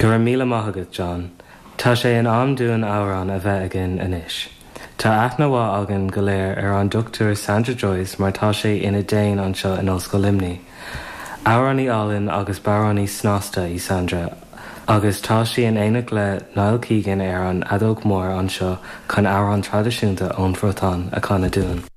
Go raibh míle maith agat, John. Tá sé in am dúinn amhrán a bheith againn anois. Tá aithne mhaith againn go léir ar an Dr Sandra Joyce mar tá sé ina Déan anseo in Ollscoil Luimnigh. Amhránaí álainn agus bodhránaí snasta í Sandra agus tá sí in éineacht le Niall Keegan ar an fheadóg mhór anseo chun amhrán traidisiúnta ón Bhriotáin a chanadh dúinn.